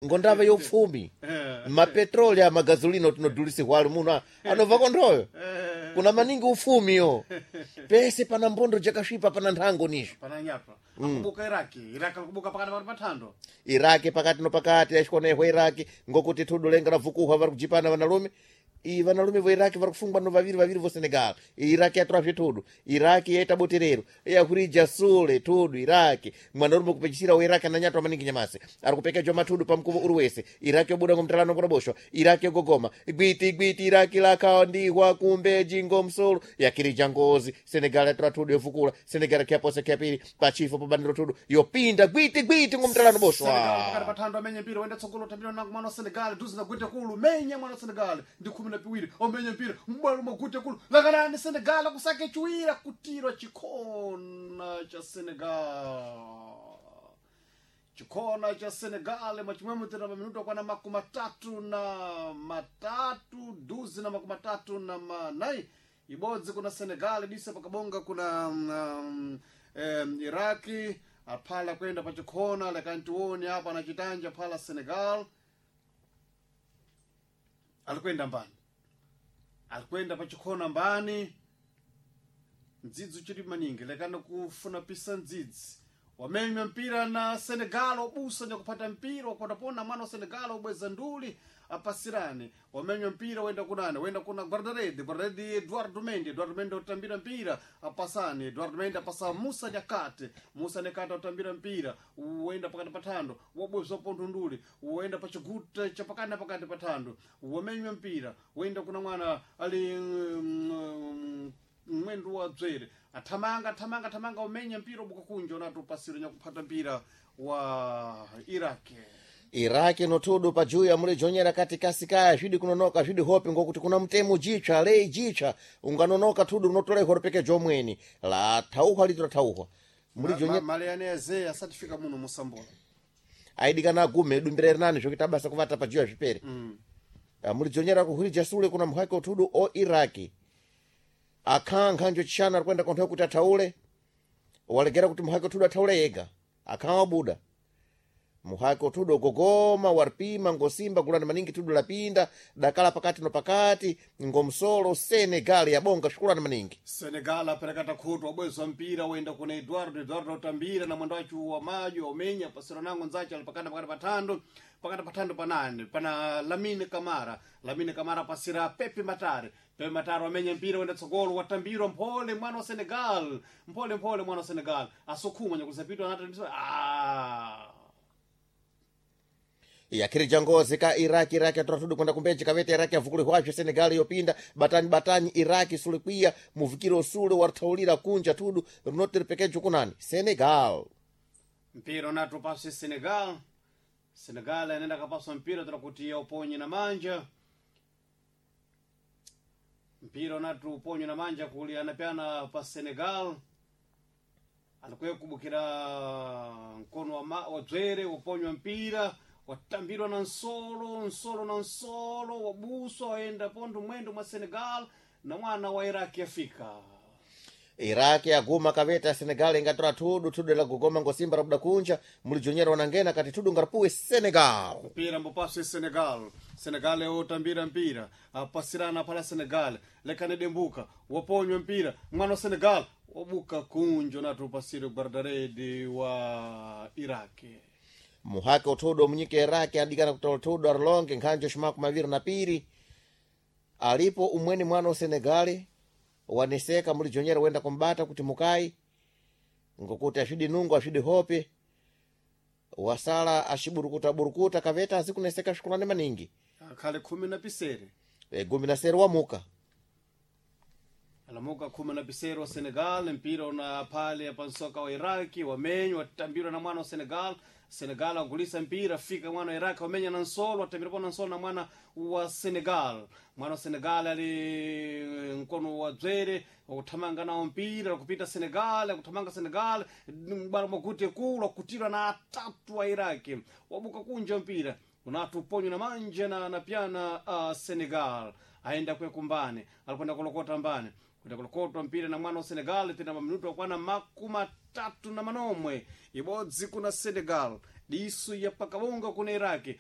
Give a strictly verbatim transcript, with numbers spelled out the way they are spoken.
Ngondava yopfumi mapetroli a magazolino tinodhulisihwali muno anobva konthoyo Eh, kuna maningi ufumiyo pese pana mbondo jakasvipa pana nthango nisho pana nyatwa akubuka Iraki, Iraki alikubuka pakati pakati pathando. Iraki pakati no pakati achikonehwa Iraki ngokuti thudu lenga la vukuhwa vari kujipana vanalume i vanalume vo Iraki vari kufungwa no vaviri vaviri vo Senegal. Iraki yatora zvethudu, Iraki yaita buterero yakurija sule thudu. Iraki mwanarume kupechisira wa Iraki ananyatwa maningi nyamasi ari kupekejwa mathudu pamkuvo uri wese. Iraki yobuda ngomtalano kunaboshwa, Iraki yogogoma gwiti gwiti, Iraki lakhandihwa kumbeji ngomsolo yakirija ngozi. Senegal yatora thudu yovukula, Senegal kyapose kyapiri pachifo pabaniro thudu yopinda gwiti gwiti ngomtalano boshwa. Senegal pakati pathando amenye mpira wenda tsogolo tambira nangu mwana wa Senegal duzi na gwite kulu menya mwana wa Senegal ndi khumi na piwiri omenye mpira mbwalo mwagwite kulu lakanani Senegal kusake chiwira kutirwa chikhona cha Senegal, chikhona cha Senegal mwachimwemwe tena paminuto kwana makumi matatu na matatu duzi na makumi matatu na manai, ibodzi kuna Senegal disa pakabonga kuna um, um, Iraki aphala kwenda pachikhona lekantione apa anachitanja phala Senegal alikwenda mbani alikwenda pachikhona mbani mdzidzi uchili maningi lekana kufuna pisa mdzidzi wamenywa mpira na Senegal obusa nyakupata mpira wakotapona mwana wa Senegal obweza nduli apasirane wamenywa mpira wenda kunane wenda kuna guardaredi guardaredi Eduardo Mendy, Eduardo Mendy otambira mpira apasane Eduardo Mendy apasa Musa Nyakate, Musa Nyakate otambira mpira wenda pakati pathando wabwezwa pontho nduli wenda pachiguta chapakati na pakati pathando wamenywa mpira wenda kuna mwana ali mm, mwendo wa dzwere athamanga athamanga athamanga umenya mpira ubuka kunja unati upasiro nyakuphata mpira wa Iraki. Iraki nothudu pajuya ya mulijonyera kati kasikaya zvidi kunonoka zvidi hope ngokuti kuna mtemo jitsva lei jitsva unganonoka thudu unotola ihoro omweni la thauhwa lito lathauhwa mulijonye. Mali yane yaze asatifika muno musambola. Aidikana agume dumbira rinani zvokuita basa kuvata pajuya zvipere mm. Mulijonyera kuhwirija sule kuna mhaki othudu o Iraki akhankha njo chishana ari kuenda konthoyo kuti athaule walegera kuti muhaki othudu athaule yega akhawa wabuda muhaki othudu ogogoma waripima ngosimba gulani maningi thudu lapinda dakala pakati no pakati ngomsolo Senegal yabonga shukulani maningi. Senegal aperekata khutu wabwezwa mpira wenda kuna Eduardo, Eduardo utambira na mwendo wachu wa maji wamenya pasiro nango nzache ali pakati pakati pathando pakati pathando panane pana Lamine Kamara, Lamine Kamara pasira Pepe Matare, Pepe Matare wamenya mpira wenda tsogolo watambirwa mphole mwana wa Senegal mphole mphole mwana wa Senegal asokhuma nyakusapitwa anati ah Yakhirija ngozi ka Iraki, Iraki atora thudu kwenda kumbeji kavete Iraki avukulihwazve Senegal yopinda batani batani Iraki sulikwiya muvikiro usule warithaulira kunja thudu rinoti ripekejo kunani Senegal. Mpira unati upaswe Senegal, Senegal anaenda kapaswa mpira tira kuti uponye na manja mpira unati uponye na manja kuli anapeana pa Senegal alikuye kubukira mkono wa, ma, wa dzwere uponywa mpira watambirwa na nsolo nsolo na nsolo wabuswa waenda pontho mwendo mwa Senegal na mwana wa Iraki afika. Iraki aguma kaveta Senegal ingatora thudu thudu la gogoma ngosimba rabuda kunja mulijonyera wanangena kati thudu ngaripuwe Senegal. Mpira mbopaswe Senegal, Senegal otambira mpira apasirana pala Senegal lekane dembuka waponywa mpira mwana wa Senegal wabuka kunjo nati upasire guardaredi wa Iraki. Muhaki uthudu omunyika Iraki adikana kutola thudu arilonge nkhanjo ximaku maviri na piri alipo umweni mwana wa Senegali waneseka mulijonyera wenda kumbata kuti mukai ngokuti asvidi nungo asvidi hope wasala axiburukuta burukuta kaveta azikuneseka svikulane maningi. Akhale khumi na pisere. E, gumi na sere wamuka. Alamuka khumi na pisere wa Senegal mpira una pale pansoka wa Iraki wamenywa watambirwa na mwana wa Senegal, Senegal agulisa mpira fika mwana wa Iraki wamenya na nsolo watambirwa na nsolo na mwana wa Senegal, mwana wa Senegal ali mkono wa dzwere wakuthamanga nawo mpira wakupita Senegal akuthamanga Senegal bwana mwakute kulu akutirwa na atatu wa Iraki wabuka kunja mpira unatu uponywa na manja na napyana uh, Senegal aenda kwe kumbane alikwenda kulokota mbane kwenda kulokotwa mpira na mwana wa Senegal tena maminuto akwana makumi matatu na manomwe ibodzi kuna Senegal disu ya pakabonga kuna Iraki.